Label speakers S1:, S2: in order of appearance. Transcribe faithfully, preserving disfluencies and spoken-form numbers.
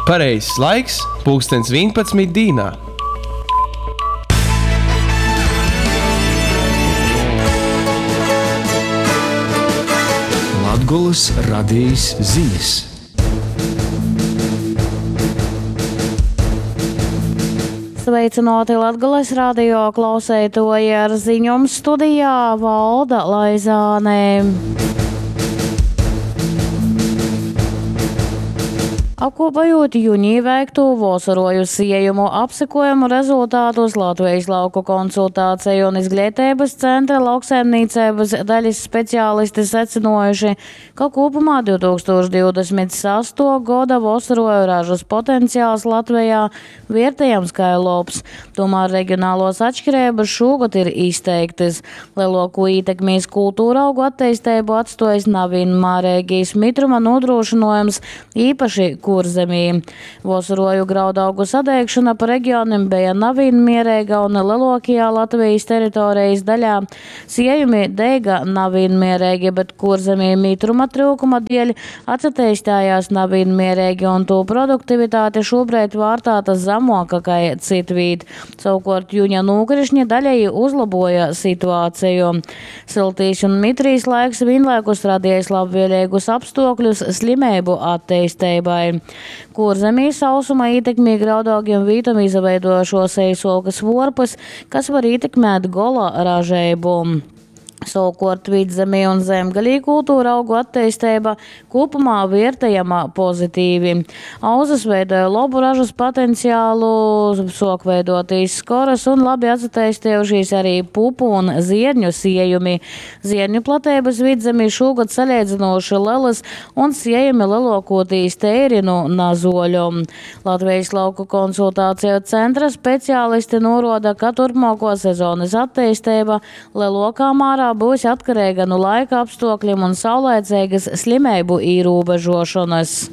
S1: Pareizs laiks – pulkstens vīnpadsmit dīnā.
S2: Latgolys radejis zinis.
S3: Sveicināti Latgales radio klauseitoji ar ziņom studijā Valda Laizāne. Apkopojot junī veikto vosaroju siejumu apsekojumu rezultātus Latvijas lauku konsultāciju un izglītības centra lauksaimniecības daļas speciālisti secinājuši, ka kopumā divtūkstoš divdesmit sesto gada vosaroju ražas potenciāls Latvijā vērtējams kā labs. Tomēr reģionālos atšķirības šogad ir izteiktas. Lielāko ietekmi uz kultūra augu attīstību atstojas nevienmērīgais mitruma nodrošinājums, īpaši Kurzemī. Vosaroju graudaugu sadegšana pa reģioniem bija nevienmierīga un lielākajā Latvijas teritorijas daļā siejumi dega nevienmierīgi, bet Kurzemī mitruma trūkuma dēļ atsatīstījās nevienmierīgi un to produktivitāte šobrīd vārtāta zemāka kā citvīt. Savukārt juņa nokrišņi daļēji uzlaboja situāciju. Siltīs un mitrīs laiks vienlaikus radījis labvēlīgus apstākļus slimību attīstībai. Kurzemī sausuma ietekmī graudaugiem vītam izveidojušos eisokas vorpas, kas var ietekmēt gola ražību. Savukārt vidzemī un zemgalī kultūra augu attīstība kopumā vērtējama pozitīvi. Auzas veidoja labu ražas potenciālu, sok veidotīs skoras un labi atsatīstījušies arī pupu un zierņu siejumi. Zierņu platības vidzemī šogad salīdzinoši lielas un siejumi lielākoties teiri nu nazoļu. Latvijas lauku konsultāciju centra speciālisti noroda, ka turpmāko sezonas attīstība lielākā mērā būs atkarīga no laika apstākļiem un saulaicīgas slimību ierobežošanas.